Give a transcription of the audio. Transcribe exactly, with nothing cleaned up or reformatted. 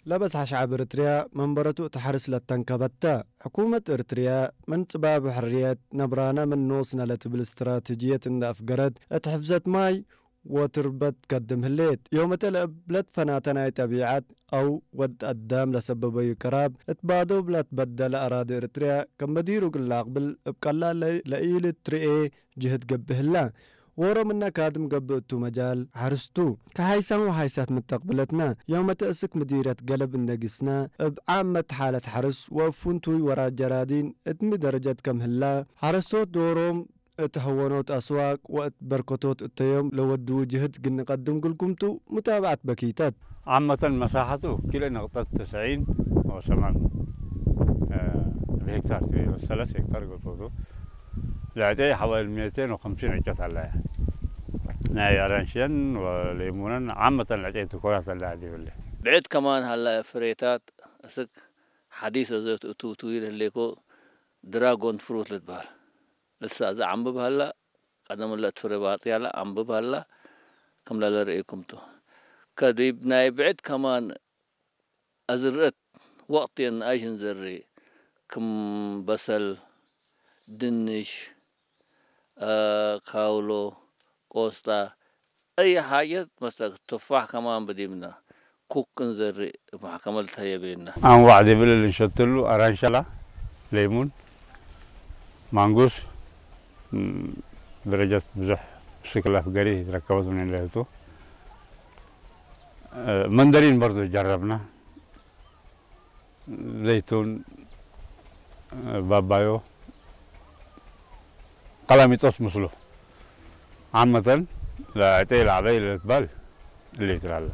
ለበዝሐ ሸዐብ እርትርያ መንበረቱ እት ሐርስ ለተንከበት ተ። ሕኩመት እርትርያ ምን ጽባብ ሕርየት ነብራነ ምን ኖስነ ለትብል እስትራትጅየት እንዴ አፍገረት፣ እት ሕፍዘት ማይ ወትርበት ትከድም ህሌት። ዮመተ ለእብ ለትፈናተ ናይ ጠቢዐት አው ወድ አዳም ለሰበበዩ ቅራብ እት ባዶብ ለትበደለ አራዲ እርትርያ፣ ከም በዲሩ እግል ለአቅብል እብ ቀላል ለኢልትርኤ ጅህድ ገብእ ህለ። ዎሮ ምነ ካድም ገብእ እቱ መጃል ሐርስ ቱ። ከሐይሳም ወሐይሳት ምተቅብለትነ፣ ዮመተ እስክ ምዲርየት ገለብ እንዴ ጊስነ፣ እብ ዓመት ሓለት ሐርስ ወእብ ፍንቱይ ወራድ ጀራዲን እት ሚ ደረጀት ከም ህላ፣ ሐረስቶት ዶሮም እት ሐወኖት አስዋቅ ወእት በርከቶት እተዮም ለወድዉ ጅህድ እግል ንቀድም እግልኩም ቱ ሙታብዐት በኪተት። ዓመተን መሳሐቱ ኪሎ ነቅጠት ተስዒን ወሰማን፣ እ፣ ሄክታር ቱ፣ ሰለስ ሄክታር ገብቶቱ። ለዕጨይ ሐዋይል ሜቴን ወከምሲን ዕጨት ሀለያ። ናይ አራንሽየን ወሌሙነን ዓመተን ለዕጨይ ትኮራት ሀለያ ዲብለ። ብዕድ ከማን ሀላ ፍሬታት እስክ ሐዲስ አዘት እቱ ቱ ይልህሌኮ ድራጎን ፍሩት ልትበህል። እሳ እዘ ዐንብብ ሀላ፣ ቀደም እለ እት ፍሬ ባጽያለ አንብብ ሀላ፣ ክም ለለርእይኩም ቱ። ከዲብ ናይ ብዕድ ከማን አዝርአት ወቅት የንአይሽ እንዘሪ፣ ክም በሰል፣ ድንሽ፣ አ፣ ካውሎ፣ ቆስጣ፣ አይ ሓጀት መሰለክ፣ ቱፋሕ ከማን ብዲብነ፣ ኩክ እንዘሪ እብ መሕከመ ልትሀየ ቤነ። አንዋዕ ዲብለ ልንሸትሉ አራንሻላ፣ ሌሙን፣ ማንጉስ፣ ም፣ ደረጀት ብዙሕ ብስክል አፍገሪ ትረከበት ምን ለህቱ። መንደሪን በርዶ ጀረብነ። ዘይቱን፣ ባባዮ፣ ቀላሚጦስ ምስሉ። ዓመተን ለዕጤ ለዐበይ ለልትባል እሊ ትላለ።